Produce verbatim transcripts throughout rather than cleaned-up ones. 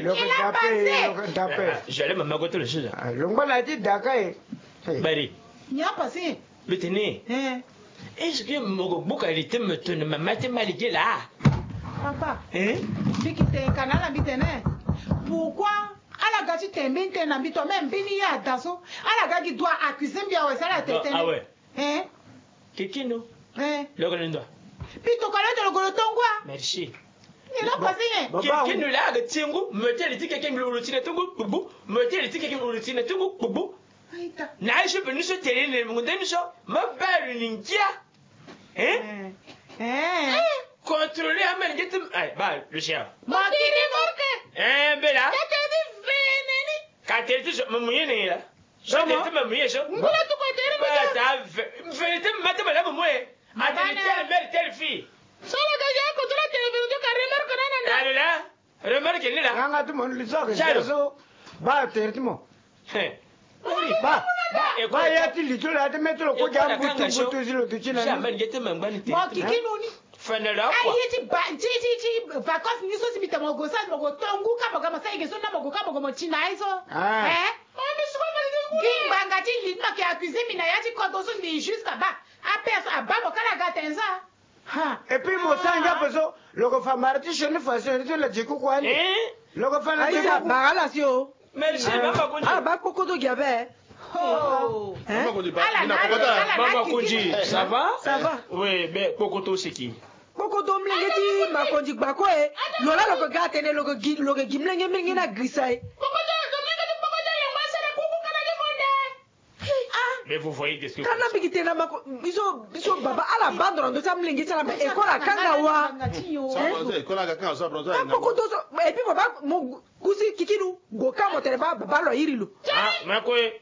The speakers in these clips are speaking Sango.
Lo ko dape, lo ko dape. J'allais me mettre le sujet. Lo ngba na ti daka e. Bari. Nya passé. Bitene. Est-ce que mo ko buka lite me tene ma mate ma lege la? Papa. Hein? Biki te kanala bitene. Pourquoi? Ala ga ti tembe nte na mbi to même mbeni ya daso. Ala ga gi doit accuser mbi awe sala tetene. Ah ouais. Hein? Kikinu. Hein? Lo ko lendo. Pito kalo to lo ko lo tongwa. Merci. Ni lo ko sinye. Kikinu la ga tingu, mete li ti keke mi lo lo tine tungu, bubu. Mete li ti keke mi lo lo tine tungu, bubu. Aita. Na aisho pe ni so tele ne mungu nde ni so. Ma balu ni ngia. Hein? Eh. Contrôler amen ngetum. Ay, ba, Lucia. Mo kiri morte. Eh, bela. Kete di veneni. Ka tele ti so, mo muye ne la. So tele ti mo muye so. Ngula tu ko tele mo. Ba ta ve, ve ti mo mata mo la mo muye. A tele tele mère tele fille. So la ga ya ko to la tele ve to ka remarque na na. Allo la. Remarque ni la. Nga nga ti mo ni li so ake so. Ba tere ti mo. He. Ba. Ba ya ti li ti lo ya ti mê ti lo kue gi ambutu mbutu si lo duti na ni. Mo kiki no ni. Fene lo akua. Aye ti ba ti ti ti vacances ni so si mbi tene mo go sara mo go tongu ka mo ga mo sara eke so na mo go ka mo go mo ti na ye so. Eh. Gi ngbanga ti li ni mo ke accuser mbi na ya ti kodro so mbi jusqu'à ba. Ape so aba mo kala ga tene so. Ha. Et puis mo sara ngia ape so lo ko fa mara ti sioni fa sioni ti lo la dze kuku ani. Lo ko fa na dze kuku. Bara la si o. Merci mama Konji. Ah ba kpokoto gi abe. Oh. Hein? Mama Konji ba. Mama Konji, ça va? Ça va. Oui, ben kpokoto seki. Kpokoto mlenge ti Makonji gbako e. Lo la lo ko ga tene lo ko gi lo ko gi mlenge mlenge na grisa e. Kpokoto mlenge ti kpokoto lo ma sara kuku kana ni monde. Mais vous voyez de ce que kana bigi tena mako biso biso baba ala bandro ndo ta mlenge tala ba école akanga wa. École akanga so bronzo. Koko to so et puis baba mo kusi kikinu go ka mo tele ba baba lo yiri lo. Ah mako e.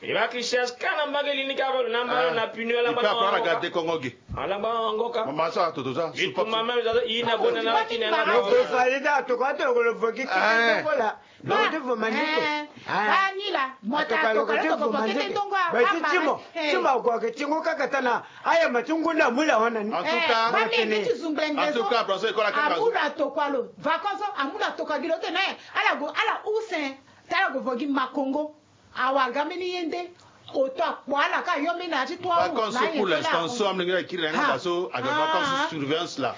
E ba ki cherche kana mbage lini ka balo na mbalo na pinu ala mbalo. Ala mbalo ngoka. Mama so atoto sa. Bitu mama so ina bona na kina na. Lo ko fa ida to ko to ko lo foki kikinu ko la. Lo ko ti vo manzito. Ba ni la mo ta toka lo ko ti vo manzito. Ba ti timo timo ague ake ti ngu kaka tana. Aya ma ti ngu na mu la hona ni. En tout cas, en tout cas, François école akanga zo. Amu la tokua lo. Vacances amu la tokua gi lo tene. Ala go ala use. Tala go vo gi Makongo. Awa ga mbeni ye nde. Oto akpo ala ka yo mbeni na ya ti trois août. Vacances so pour l'instant so amlenge na kiri na yanga da so aga vacances surveillance la.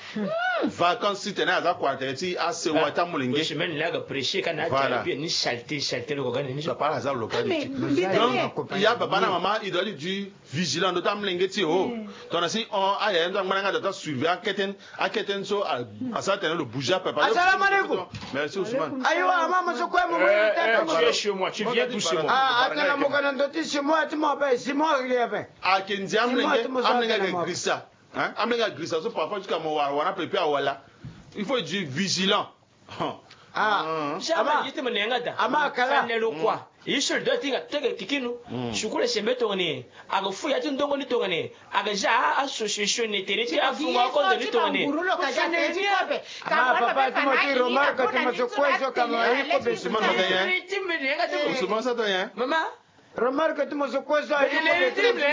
Vacances ti tene aza kua tene ti asewa ti amolenge. Semaine la aga prêcher kana ti bien ni saleté saleté lo ko gani ni so. Papa aza lo gani ti. Donc ya baba na mama il doit dire vigilant ndo ti amlenge ti o. Tongana si on ayaya ndo angba na yanga da ta surveiller akete ni. Akete ni so asara tene lo bouger ape. Assalamu alaikum. Merci Ousmane. Ayiwa ama mo so kue mo mo. Tu es chez moi, tu viens doucement. Ah atana mo kana ndo ti chez moi ti mo ape chez moi ri ape. Ake ndia amlenge amlenge ake grisa. Hein? Amlenge agrisa so parfois jusqu'à mo wara wara ape pe awala. Il faut être vigilant. Ah ama yete mo nenga da. Ama kala. Fanelo quoi? Ye so lo doit ti hinga teke kikinu. Sukulu asembe tongana nyen? Aga fu ya ti ndongo ni tongana nyen? Aga za association ni tere ti afungo akonzo ni tongana nyen? Ama papa ti mo ti remarque ti mo so kue so ka mo ayi kobe. Mama. Remarque ti mo so kue so ayi kobe.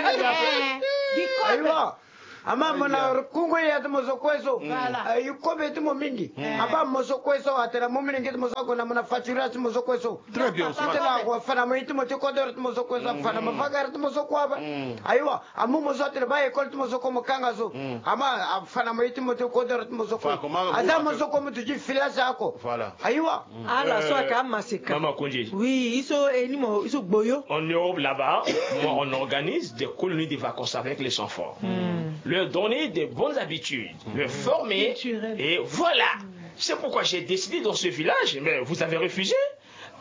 Ayiwa. Ama mo na kungo ya ti mo so kue so. Ayi kobe ti mo mingi. Aba mo so kue so atene mo mingi ti mo so ague na mo na facturage ti mo so kue so. Très bien Ousmane. Atene ague afana mo ye ti mo ti kodoro ti mo so kue so afana mo vagara ti mo so kue ape. Ayiwa amu mo so atene ba école ti mo so kue mo kanga so. Ama afana mo ye ti mo ti kodoro ti mo so kue. Aza mo so kue mo duti filage oko. Voilà. Ayiwa. Ala so aka amaseka. Mama Konji. Oui, iso enimo iso gboyo. En Europe là-bas, moi, on organise des colonies de vacances avec les enfants. Leur donner des bonnes habitudes, leur former. Et voilà. C'est pourquoi j'ai décidé dans ce village, mais vous avez refusé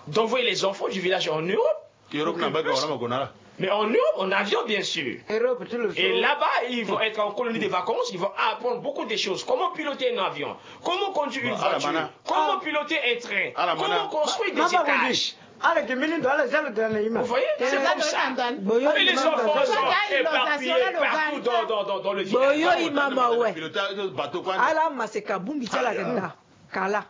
d'envoyer les enfants du village en Europe. Europe na baka wana makona la. Mais en Europe, en avion, bien sûr. Et là-bas, ils vont être en colonie de vacances, ils vont apprendre beaucoup de choses. Comment piloter un avion, comment conduire une voiture, comment piloter un train, comment construire des étages. Ala ke mini ndo ala zalo dana ima. Vous voyez, c'est comme ça. Et les enfants sont éparpillés partout dans, dans, dans, dans le village. Ala maseka bumbi ti ala kenda kala.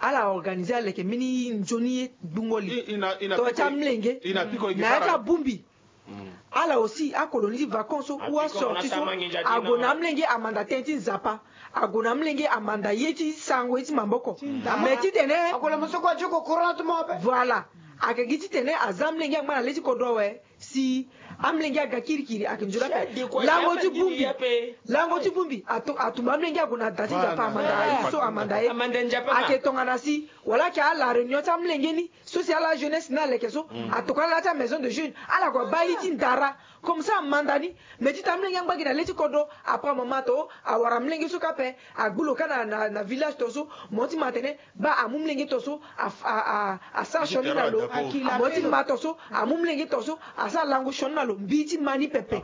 Ala organiser aleke mbeni nzoni ye gbungo li. Tongana ti amolenge na ya ti abumbi. Ala aussi akoloni ti vacances so ou asorti so ague na amolenge amanda tënë ti nzapa, ague na amolenge amanda ye ti sango ye ti maboko. Mais titene voilà, ayeke gi titene aza amolenge angba na le ti kodro awe. Si amolenge aga kirikiri ayeke nzoni ape. Lango ti bongbi, lango ti bongbi atumba amolenge ague na da ti nzapa amanda ye so amanda ye. Ayeke tongana si wala ayeke ala réunion ti amolenge ni so si ala jeunesse ni aleke so atokua ala ti amaison de jeunes, ala gue baa ye ti ndara. Comme ça amanda ni. Mais ti ta amolenge angba gi na le ti kodro, après amama to awara amolenge so kâ ape. Agbu lo kâ na, na, na village to so, mo ti ma atene baa amu amolenge to so, a, a, a, asara sioni na lo. Mo ti ma to so, amu amolenge to so, asara lango sioni na lo. Mbi ti ma ni pepe.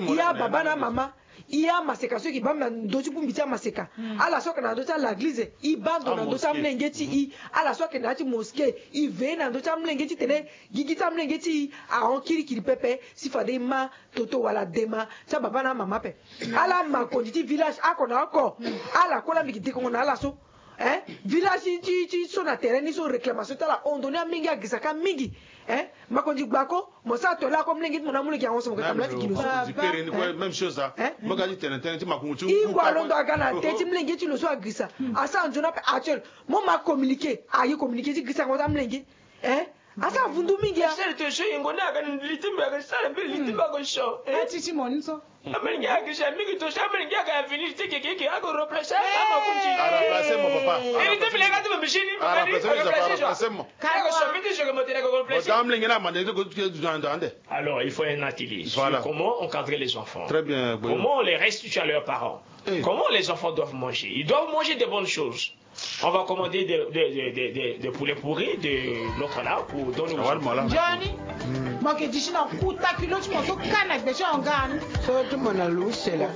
Iya baba na mama. Iya maseka so eke baa na ndö ti bongbi ti amaseka. Ala so ayeke na ndö ti alaglize, e baa ndo na ndö ti amolenge ti e. Ala so ayeke na ya ti mosquée, e veille na ndö ti amolenge titene gigi ti amolenge ti e ahon kirikiri pepe. Si fade e ma toto wala dema ti ababa na amama ape. Ala makonzi ti village oko na oko. Ala kue laa mbi yeke dekongo na ala so. Hein? Village ti, ti, ti so na terrain ni so réclamation ti ala hon ndo ni amolenge agirisa kâ mingi. Hein? Makonzi gbako, mo sara tole oko amolenge ti mo na amolenge ahon so mo yeke tambula ti gi lo so. Même chose, hein? Mo ga ti tene tënë ti makongo ti. I gue alondo aga na tënë ti molenge ti lo so agirisa. Asara nzoni ape actuel. Mo ma communiqué, aye communiqué ti girisango ti amolenge. Hein? Asara vundu mingi ya. Sere to so yengo ni aga na li ti mbi aga sara mbiri li ti mbi aga so. Eh? Ati ti mo ni so. Amolenge aga gisa mingi to so amolenge aga avenir ti keke eke aga replacer ama kunzi. A remplacer mo papa. Iri ti mbi lega ti mo mbi sini. A remplacer mo papa, a remplacer mo. Aga so mbi ti so ke mo tene aga replacer. Mo ta amolenge na amande ti ko ti ke du ande. Alors, il faut un atelier sur comment encadrer les enfants. Très bien. Comment on les restitue à leurs parents. Comment les enfants doivent manger. Ils doivent manger des bonnes choses. On va commander des, des, des, des, des, des poulets pourris de l'autre là pour donner aux enfants. Johnny, mo yeke disi na kuta kilo ti mo so kâ na gbe ti ahon ga ni. So ti mo na lo use laa.